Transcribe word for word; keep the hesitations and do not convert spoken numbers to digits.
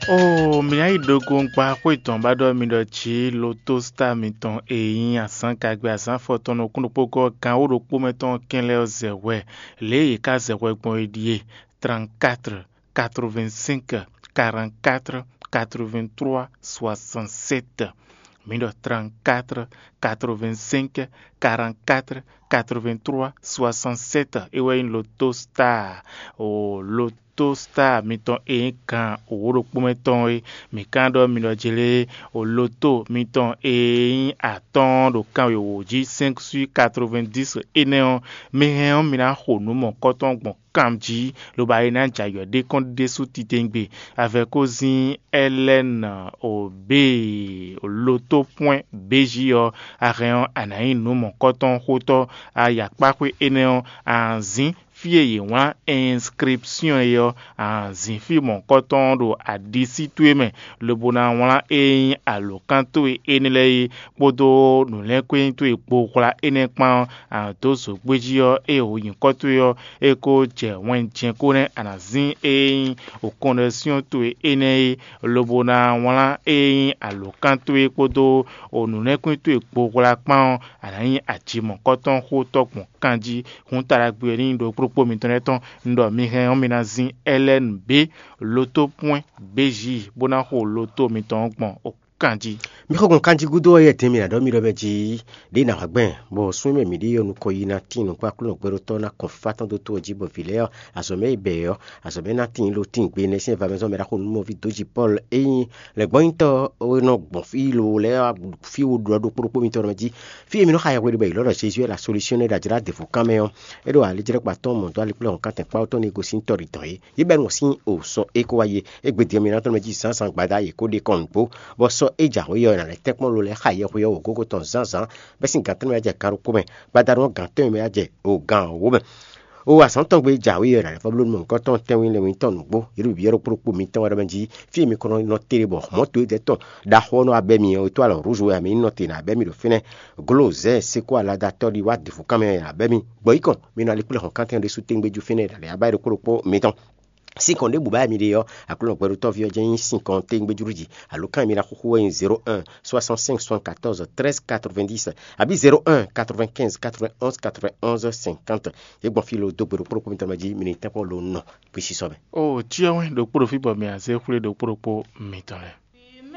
Oo, mǐ ná yi ɖogo gba xwé tɔn ba ɖɔ mi ɖɔ jǐ lotosita mitɔn e nyí azǎn gagbe azǎn afɔtɔn nukún ɖokpó gɔ́ gan wǒ ɖokpó mɛ tɔn kɛnlɛ ɔ́ zɛ hwɛ. Lě e yě ká zɛ hwɛ gbɔn é ɖíe: trente-quatre quatre-vingt-cinq quarante-quatre quatre-vingt-trois soixante-sept. Mi ɖɔ trente-quatre quatre-vingt-cinq quarante-quatre quatre-vingt-trois soixante-sept. É wɛ nyí lotosita. O lotosita mitɔn e nyí gan wǒ ɖokpó mɛ tɔn é. Mǐ ka ɖɔ mi ɖɔ jlé o loto mitɔn e nyí atɔ́ɔ́n ɖo kan wěwó jí cinq sur quatre-vingt-dix énɛ́ ɔ́, mi hɛn ɔ́, mi ná xo nǔ mɔ̌kɔtɔn gbɔn kan jí, lobo ayi ná jɛ ayɔ ɖé kɔn ɖésú titewungbe. Avɛkózin Ɛlɛ́n Obée loto pwɛ́n béjí ɔ́, a hɛn ɔ́, a nǎ nyí nǔ mɔ̌kɔtɔn xótɔ́. A yi akpáxwé énɛ́ ɔ́, a nǎ zín fí e yě wlán inscription é ɔ́, a nǎ zín fí mɔ̌kɔtɔn ɔ́ ɖo aɖisí towe mɛ, lobo ná wlán e nyí alǒkan towe énɛ́ lɛ́ɛ é, kpódó nǔlɛ́nkwɛ́n towe gbohwla énɛ́ kpán ɔ́, a nǎ dó zǒgbéjí ɔ́, ée wǒ nyǐkɔ towe ɔ́, é ko jɛ wɛn jɛ́n ko nɛ́, a nǎ zín e nyí okɔnɖɛsyɔ́n towe énɛ́ é, lobo ná wlán e nyí alǒkan towe kpódó o nǔlɛ́nkwín towe gbohwla kpán ɔ́, a nǎ nyí ajimɔ̌kɔtɔn xótɔ́ gbɔn kan jí. Hǔn taɖagbe ɔ́ ní nyí ɖokpóɖokpó mitɔn lɛ́ɛ tɔn. Un ɖɔ mi hɛn ɔ́, mi ná zín Ɛlɛ́nu bé loto pwɛ́n béjí bó ná xo loto mitɔn ɔ́ gbɔn kan jí. Mi xɔ gbɔn kanjí gúdo ɔ́, yɛ tɛn mi ná ɖɔ mi ɖɔ mɛ jí ɖě ná wá gbɛn, bɔ sún mɛ mǐ ɖe ɔ́ nukɔn yi ná tín nǔkpá Aklúnɔ gbɛɖotɔ́ ná kɔn fá tɔn dó tó ɔ́ jí, bɔ vǐ lɛ́ɛ ɔ́, azɔ̌ mɛ e bɛ ɔ́, azɔ̌ mɛ ná tín lo tín gbe nɛ́ sín vamɛzɔn mɛ ɖaxó nǔmɔví dó jí Pɔ́lu. Ényí lɛ̌ngbɔ́nyitɔ́ e nɔ gbɔn fí lo lɛ́ɛ ɔ́, fí wo ɖu ɔ́ ɖokpó ɖokpó mitɔn mɛ jí. Fí e mi nɔ xa yɛhwe ɖe bɔ è lɔ̌ ɖɔ Jezu wɛ la solúsyɔ́n e ɖo ajlǎ ɖěvo kan mɛ ɔ́, é ɖo ali jlɛ́ kpa tɔn mɔ dó ali kplé hɔn kántɛn kpá ɔ́ tɔn ní e gosín tɔ́ ɖi dɔn é. Yě bɛ́ nɔ sín o sɔ é kó wá yé. Égbé din ɔ́, mi ná tɔ́n mɛ jí zǎnzǎn gbada yě kó ɖe kɔn nǔgbó, bɔ sɔ́ é jǎwe ɔ́, è nǎ lɛ́ tɛ́nkpɔ́n lo lɛ́ɛ xa yɛhwe ɔ́ wǒgógó tɔn zǎnzǎn, bɛ́ sín gǎn tɛ́nwe mɛ wá jɛ kan ɖokpó mɛ, gbadanu ɔ́ gǎn tɛ́nwe mɛ wá jɛ o gǎn wǒ mɛ. O azǎn tɔn gbe jǎwe ɔ́, è nǎ lɛ́ vɔ́ bló nú mɔ̌hunkɔtɔn tɛ́nwe lɛ́ɛ mitɔn nǔgbó, yě ɖo bǐ ɔ́ ɖokpó ɖokpó mitɔn wɛ ɖɔ mɛ jí, fí e mi kɔn nɔ tɛ́ ɖe bɔ mɔ̌ towe dɛ́ tɔn ɖaxó ɔ́ nɔ wá bɛ́ mi ɔ́, è tó alɔ rúzu wɛ a mi ní nɔ te nǎ bɛ́ mi ɖo fínɛ́. Glo zɛ̌ seko aladatɔ́ ɖi wá dǐfúnkan mɛ nǎ bɛ́ mi. Gbɔ̌ yí kɔn, mi nɔ ali kplé hɔn kántɛn ɖésú téŋgbéjú fínɛ́ ɖo alɛ abáyi ɖokpó ɖokpó mitɔn. Sín kɔn ɖěbǔ báyɛ mi ɖe ɔ́, Aklúnɔ gbɛɖotɔ́ví ɔ́ jɛ́n nyí sín kɔn téŋgbéjú jí. Alǒkan e mi ná xúxú wɛ nyí zéro un soixante-cinq soixante-quatorze treize quatre-vingt-dix, abǐ zéro un quatre-vingt-quinze quatre-vingt-onze quatre-vingt-onze cinquante. Yě gbɔn fí lo dó gbe ɖokpó ɖokpó mitɔn mɛ jí, mi ní tɛ́nkpɔ́n lo nɔ gbesisɔ mɛ. O cyɔ wɛn ɖokpó ɖo fí bɔ mi azé xwlé ɖokpó ɖokpó mitɔn lɛ́ɛ.